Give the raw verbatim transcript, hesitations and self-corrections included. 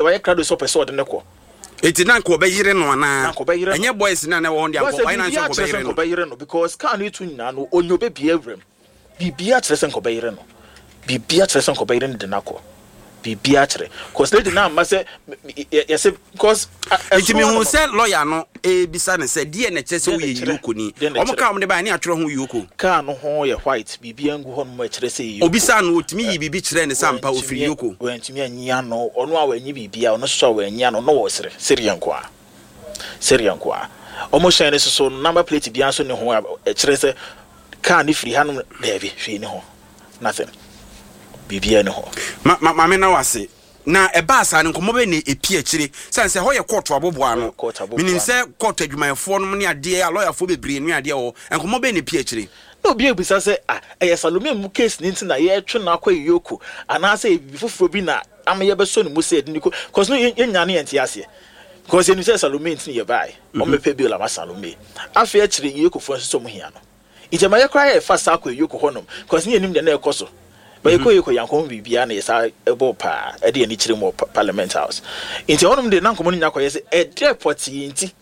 Wayɛ krado sɛ ɔpɛ sɛ ɔde ne kɔ. Eti na nka ɔbɛyere no anaa? Na nka ɔbɛyere no. Ɛnyɛ boys na na ɛwɔ hɔ deɛ, Because anka ɔyɛ na biribiara nso kyerɛ sɛ nkɔbɛyere no. Nkɔbɛyere no, because car no etu nyinaa no, onye obɛbie awuram. Biribiara kyerɛ sɛ nkɔbɛyere no. Biribiara kyerɛ sɛ nkɔbɛyere no de n'akɔ. Biribiara kyerɛ, cause lady na ama sɛ yɛsɛ cause Nti mehu sɛ lawyer no ebisa ne sɛ, deɛ na ɛkyerɛ sɛ Deɛ na woyɛ ɛkyerɛ? EOCO ni? Deɛ na Ɔmo ɛkyerɛ? kaa ɔmo de ba ne atwerɛ ho EOCO. Car no ho yɛ white, biribiara ngu hɔ nom a ɛkyerɛ sɛ yɛ Obisa no, otumi yi biribi kyerɛ ne sɛ ampa ofiri EOCO? Wɔntumi anyi ano. Ɔno a wɔanyi biribiara, ɔno nso a wɔanyi ano no, wɔ sere sereɛ nko a, sereɛ nko a. Ɔmo hyɛn no soso no, number plate biara nso ne ho a ɛkyerɛ sɛ car ne firi hanom. Daabi, hwee ne ho, nothing, biribiara ne ho. Ma ma maame na wase na ɛbaa saa no, nkɔmmɔ bɛ ne epi akyire sane sɛ hɔ yɛ court aboboa no. Court aboboa. Menim sɛ court adwumayɛfoɔ nom ne adeɛ a lɔyafoɔ bebree ne adeɛ wɔ hɔ. Nkɔmmɔ bɛ ne epi akyire? Na obi ebisa sɛ, ah, ɛyɛ Salome mu case ne nti na yɛtwe no akɔ EOCO, anaasɛ yɛ biribi foforɔ bi na ama yɛbɛsɔ ne mu sɛ yɛde ne kɔ? Cause no yɛnya ne yɛnte aseɛ, because yɛnim sɛ Salome nti ne yɛbaeɛ. Ɔmmɛpɛ bail ama Salome. Afei akyire EOCOfoɔ nso sɛ ɔmo hia no, nti ɛma yɛkora yɛfa saa kɔ EOCO hɔnom, cause ne yɛnim deɛ na ɛkɔ so. Ba yɛkɔ EOCO, yɛankɔ ho biribiara na yɛsa ɛbɔ paa ɛde yɛni kyerɛ mu wɔ pa- parliament House. Nti hɔnom de na nkɔmmɔ no nya kɔyɛ sɛ ɛdeɛ pɔtee nti.